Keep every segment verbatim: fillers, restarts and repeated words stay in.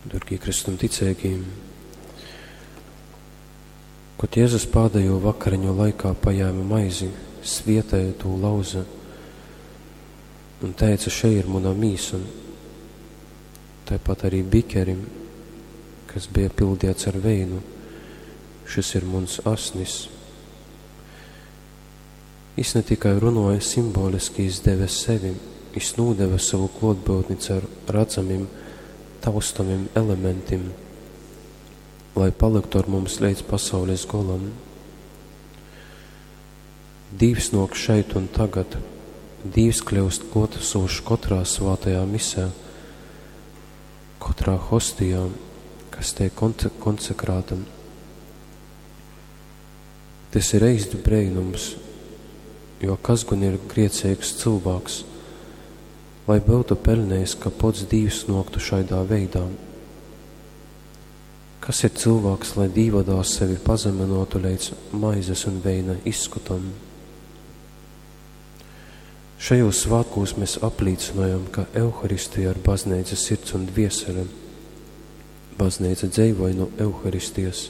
Dārgie Kristum ticēgie, kod Jēzus pādējo vakariņu laikā pajēma maizi, svietēja tū lauza un teica, šeit ir mana mīsa, tāpat arī bikerim, kas bija pildīts ar veinu, šis ir mans asnis. Jis ne tikai runoja simboliski, jis deve sevi, jis nūdeve savu klotbūtni caur redzamim, taustamim elementim, lai paliktu ar mums līdz pasaules golam. Dīvs nāk šeit un tagad, Dīvs kļūst klātesošs katrā svētajā misē, katrā hostijā, kas tiek konsekrēta. Tas ir eists breinums, jo kas gan ir griecīgs cilvēks, lai būtu pelnījis, ka pats Dīvs noktu šaidā veidā? Kas ir cilvēks, lai Dīva dāls sevi pazeminotu līdz maizes un veina izskotam? Šajos svētkos mēs apliecinājam, ka Euharistija ir baznīcas sirds un dviesele. Baznīca dzīvoja no Euharistijas.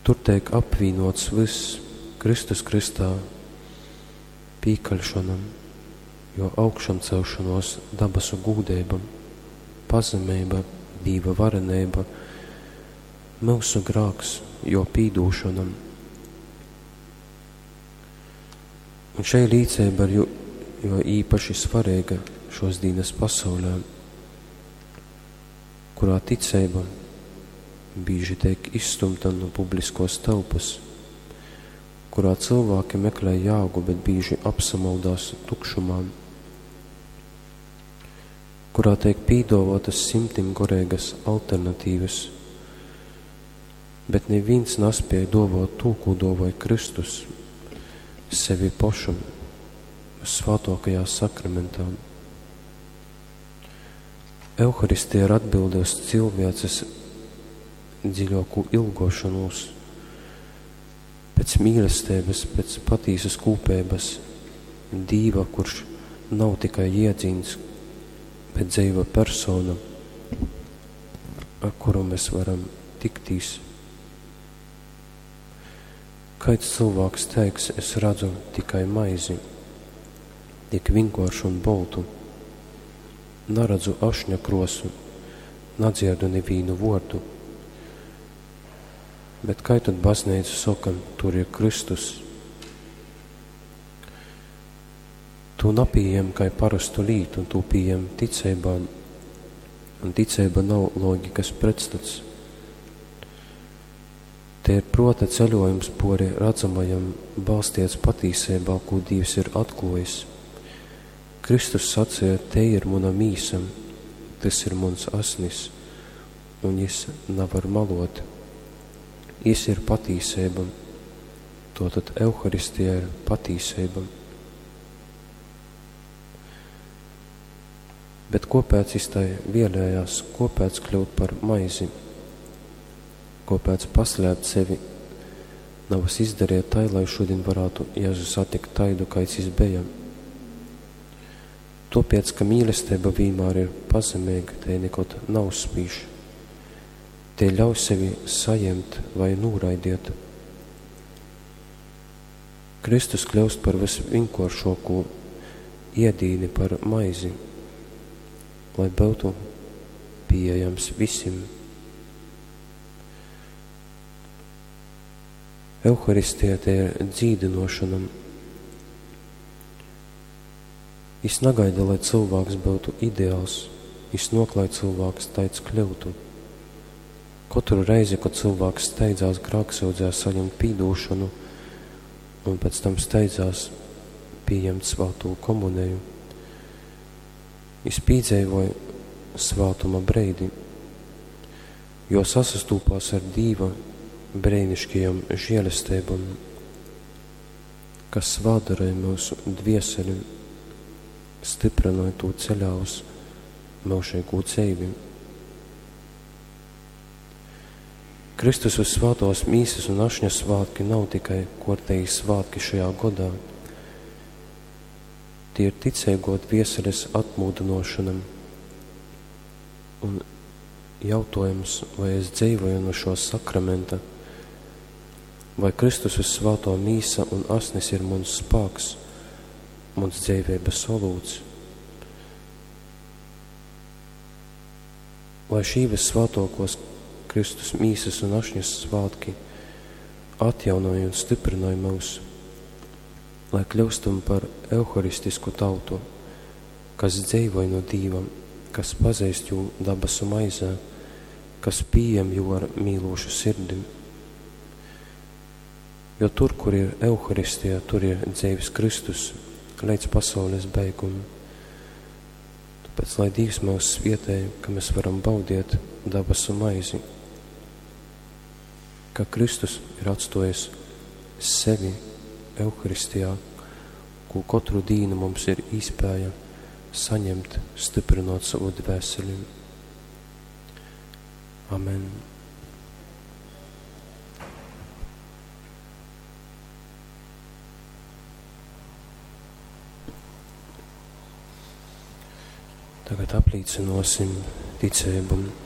Tur tiek apvienots viss Kristus Kristā pīkaļšana, jo augšām celšanos dabasu gūdība, pazemība, Dīva varenība, mūsu grāks, jo pīdūšana. Un šai līdzība ir jo, jo īpaši svarīga šos dienas pasaulē, kurā ticība bieži tiek izstumta no publiskos telpas, kurā cilvēki meklē jēgu, bet bieži apsamaldās tukšumā, kurā tiek pīdavotas simtim gorīgas alternatīvas, bet neviens nespēja dovot to, ko dovoja Kristus, sevi pašu svētākajā sakramentā. Euharistija ir atbilde uz cilvēces dziļāku ilgošanos, pēc mīlestības, pēc patīsas kūpības, Dīva, kurš nav tikai jēdziens, bet dzīva persona, ar kuru mēs varam tiktīs. Kāds cilvēks teiks, es redzu tikai maizi, tik vienkāršu un boltu, neredzu ašņa krosu, nedzirdu nevienu vārdu. Bet kā tad baznīca saka, tur ir Kristus? Tu napieņem kā parastu lītu, un tu pieņem ticībā, un ticība nav loģikas pretstats. Te ir prota ceļojums pori redzamajam, balstīts patīsībā, ko Dievs ir atklājis. Kristus sacīja, te ir mana mīsa, tas ir mans asnis, un jis nevar malot. Jis ir patīsība, tātad Euharistija ir patīsība. Bet kopēc jis tai vēlējās, kopēc kļūt par maizi? Kopēc paslēpt sevi, navas izdariet tai, lai šodien varētu Jēzu satikt taidu, kāds jis bija. Tāpēc, ka mīlestība vienmēr ir pazemīga, te nekad nav spīš. Te ļauj sevi saņemt vai noraidiet. Kristus kļūst par visvienkāršāko iedīni, par maizi, lai būtu pieejams visiem. Euharistija te ir dzīdinošana. Jis nagaida, lai cilvēks būtu ideāls, jis nok, lai cilvēks taids kļūtu. Katru reizi, kad cilvēks steidzās grēksūdzē saņemt pīdūšanu un pēc tam steidzās pieņemt svēto komuniju, jis pīdzīvoja svētuma breidi, jo sasastūpās ar Dīva brēnišķajam žēlestībam, kas svādarēja mūsu dvieseli, stiprināja to ceļā uz mūžīgo dzīvi. Kristus uz svētos mīsas un ašņa svētki nav tikai kortēji svētki šajā godā. Tie ir ticeigo dvieseles atmūdynuošona. Un jautājums, vai es dzeivoju no šo sakramenta, vai Kristus svāto mīsa un asnis ir muns spāks, muns dzeiveibas olūts. Lai šī vissvātokos Kristus mīsas un ašņas svātki atjaunoja un stiprināja mūs, lai kļūstam par euharistisku tautu, kas dzeivoja no Dīva, kas pazīst jū dabasu maizē, kas pieņem jū ar mīlošu sirdi. Jo tur, kur ir Euharistija, tur ir dzīves Kristus līdz pasaules beigumu. Tāpēc, lai Dievs mūs svietē, ka mēs varam baudiet dabasu maizi, ka Kristus ir atstājis sevi Euharistijā, ko katru dīnu mums ir īspēja saņemt, stiprinot savu dvēseli. Amen. Tagad apliecināsim ticību.